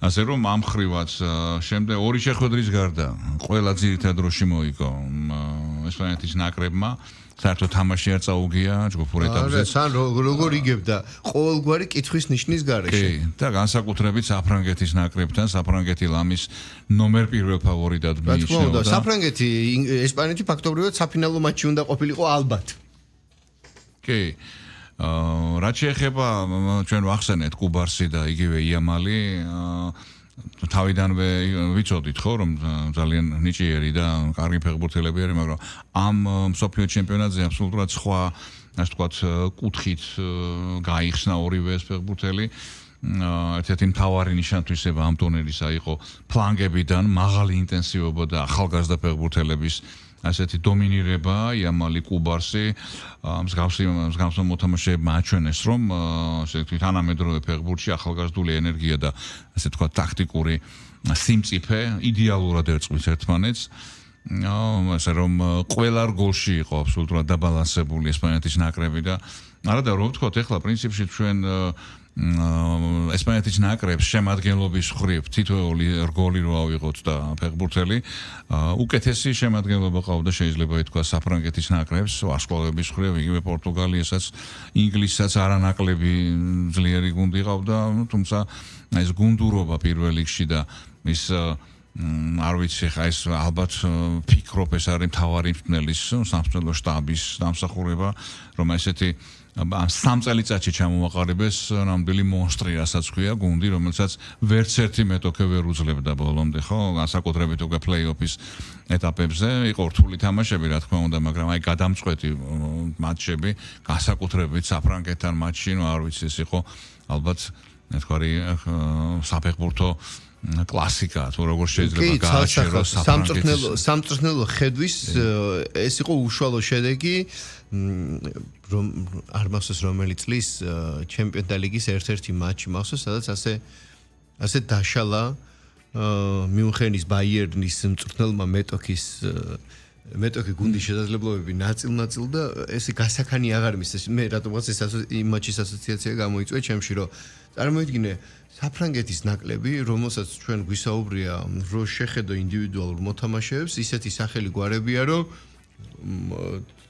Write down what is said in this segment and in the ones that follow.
ასე რომ ამ ხრივაც შემდეგ ორი შეხვედრის გარდა ყველა ძირითად დროში მოიგო ესპანეთის ნაკრებმა საერთოდ თამაში არ წაუგია ჯგუფურ ეტაპზე. სან როგორ იგებდა ყოველგვარი კითხვის ნიშნის გარეშე. კი, და განსაკუთრებით საფრანგეთის ნაკრებთან, საფრანგეთი ლამის ნომერ პირველ ფავორიტად მიიჩნეოდა. საფრანგეთი, ესპანეთი ფაქტობრივად საფინალო მატჩი უნდა ყოფილიყო ალბათ. კი. რაც შეეხება ჩვენ ვახსენეთ კუბარსი და იგივე იამალი თავიდანვე ვიცოდით ხო რომ ძალიან ნიჭიერი და კარგი ფეხბურთელები არის, მაგრამ ამ მსოფლიო ჩემპიონატზე აბსოლუტურად სხვა, ასე ვთქვათ, კუთხით გაიხსნა ორივე ეს ფეხბურთელი. ერთ-ერთი მთავარი ნიშან-თვისება ამ ტურნირისა იყო ფლანგებიდან მაღალი ინტენსივობა და ახალგაზრდა ფეხბურთელების ასეთი დომინირება, იამალი კუბარსი, მსგავსი მოთამაშეებმა აჩვენეს, რომ ასეთი თანამედროვე ფეხბურთში ახალგაზრდული ენერგია და ასე თქვა ტაქტიკური სიმწიფე იდეალურად ერწყმის ერთმანეთს. ასე რომ ყველა რგოლში იყო აბსოლუტურად დაბალანსებული ესპანეთის ნაკრები და არა და რო ვთქვათ, ეხლა პრინციპში ჩვენ ესპანეთის ნაკრებს შემადგენლობის მხრივ თითოეული რგოლი რო ავიღოთ და ფეხბურთელი უკეთესი შემადგენლობა ყავდა შეიძლება ითქვა საფრანგეთის ნაკრებს ვარსკვლავების მხრივ იგივე პორტუგალიასაც ინგლისსაც არანაკლები ძლიერი გუნდი ყავდა თუმცა ეს გუნდურობა პირველ რიგში და ის არ ვიცი ხა ეს ალბათ ფიქრობ ეს არის მთავარი მწვრთნელის სამწვრთნელო შტაბის დამსახურება რომ ესეთი ამ 3 წელიწადში ჩამოვაყალიბეს ნამდვილი მონსტრი, რასაც ქვია გუნდი, რომელსაც ვერც ერთი მეტოქე ვერ უძლებდა ბოლომდე, ხო? განსაკუთრებით უკვე პლეი-ოფის ეტაპებზე იყო რთული თამაშები, რა თქმა უნდა, მაგრამ აი გადამწყვეტი მატჩები, განსაკუთრებით საფრანგეთთან მატჩი, ნუ არ ვიცი, ეს იყო ალბათ ნათქვარი საფეხბურთო კლასიკა, თუ როგორ შეიძლება გააჩეროს სამწვრთნელო ხედვის ეს იყო უშუალო შედეგი რომ არ მახსოვს რომელი წლის ჩემპიონთა ლიგის ერთ-ერთი მატჩი მახსოვს, სადაც ასე დაშალა მიუნხენის ბაიერნის მწვრთნელმა მეტოქი გუნდის შესაძლებლობები ნაწილ-ნაწილ და ეს გასაქანი აღარ მისცეს. მე რატომღაც ეს იმ მატჩის ასოციაცია გამოიწვია ჩემში, რომ წარმოიდგინე საფრანგეთის ნაკლები, რომელსაც ჩვენ გვისაუბრია, რომ შეხედო ინდივიდუალურ მოთამაშეებს, ისეთი სახელი გვარებია, რომ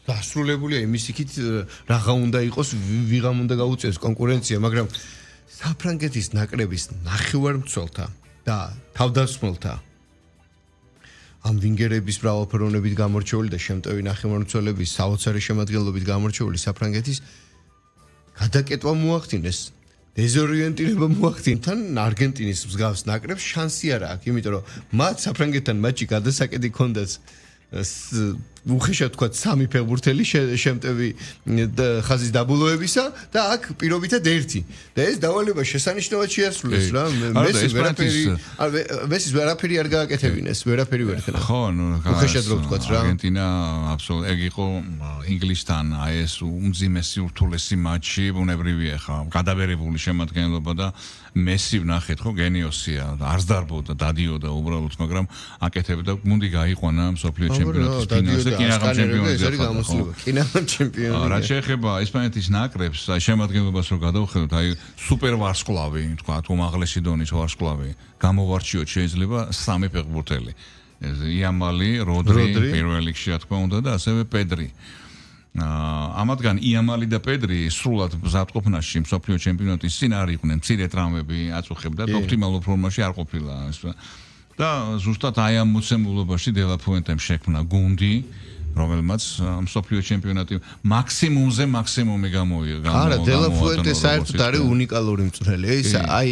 დასრულებულია იმის იქით რაღა უნდა იყოს, ვიღამ უნდა გაუწიოს კონკურენცია, მაგრამ საფრანგეთის ნაკრების ნახევარმცველთა და თავდამსხმელთა ამ ვინგერების მრავალფეროვნებით გამორჩეული და შემტევი ნახევარმცველების საოცარი შემადგენლობით გამორჩეული საფრანგეთის გადაკეტვა მოახდინეს. დეზორიენტირება მოახდინეს. თან არგენტინის მსგავს ნაკრებს შანსი არ აქვს, იმიტომ რომ მათ საფრანგეთთან მატჩი გადასაკედი ჰქონდათ უხეშად თქვა 3 ფეხბურთელი შემტევი ხაზის დაბოლოებისა და აქ პირობითად 1 და ეს დავალება შესანიშნავად შეასრულეს რა მესის ვერაფერი არ გააკეთებინეს ვერაფერი ვერ ხდა ხო ნუ უხეშად რო ვთქვა რა არგენტინა აბსოლუტურად ეგ იყო ინგლისთან აი ეს უმძიმესი ურთულესი მატჩი ბუნებრივია ხა გადაბერებული შემადგენლობა და მესი ვნახეთ ხო გენიოსია არც დარბოდა დადიოდა უბრალოდ მაგრამ აკეთებდა გუნდი გაიყვანა მსოფლიო ჩემპიონატის ფინალზე კინაღამ ჩემპიონი რა შეეხება ესპანეთის ნაკრებს აი შემადგენლობას რო გადავხედოთ აი სუპერ ვარსკვლავი თქვა უმაღლესი დონის ვარსკვლავი გამოვარჩიოთ შეიძლება 3 ფეხბურთელი იამალი როდრი პირველ რიგში რა თქმა უნდა და ასევე პედრი ამათგან იამალი და პედრი სრულად მზადყოფნაში მსოფლიო ჩემპიონატის წინ არ იყვნენ მცირე ტრამვები აწუხებდა და ოპტიმალურ ფორმაში არ ყოფილა და ზუსტად აი ამ მოცემულობაში დელაფუენტემ შექმნა გუნდი რომელმაც მსოფლიო ჩემპიონატი მაქსიმუმზე მაქსიმუმი გამოიღო. არა, დელაფუენტე საერთოდ არის უნიკალური მწვრთნელი. ეს აი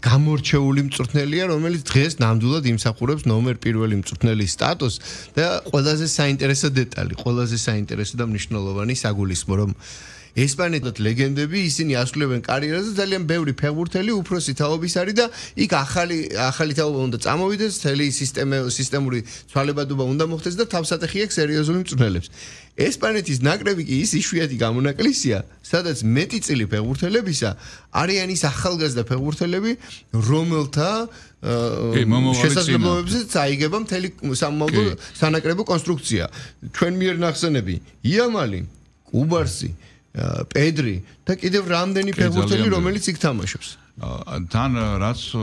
გამორჩეული მწვრთნელია, რომელიც დღეს ნამდვილად იმსახურებს ნომერ 1 მწვრთნელის სტატუსს და ყველაზე საინტერესო დეტალი, ყველაზე საინტერესო და მნიშვნელოვანი საგულისხმო, რომ ესპანეთის ლეგენდები ისინი ასრულებენ კარიერაზე ძალიან ბევრი ფეხბურთელი უფროსი თაობის არის და იქ ახალი თაობა უნდა წამოვიდეს, მთელი სისტემური ცვალებადობა უნდა მოხდეს და თავსატეხი აქვს სერიოზული მწვრთნელებს. ესპანეთის ნაკრები კი ის იშვიათი გამონაკლისია, სადაც მეტი წილი ფეხბურთელებისა არიან ის ახალგაზრდა ფეხბურთელები, რომელთა შესაძლებლობებზეც აიგება მთელი სამომავლო სანაკრებო კონსტრუქცია. ჩვენ მიერ ნახსენები იამალი, კუბარსი პედრი და კიდევ რამდენი ფეხბურთელი რომელიც იქ თამაშობს. თან რაც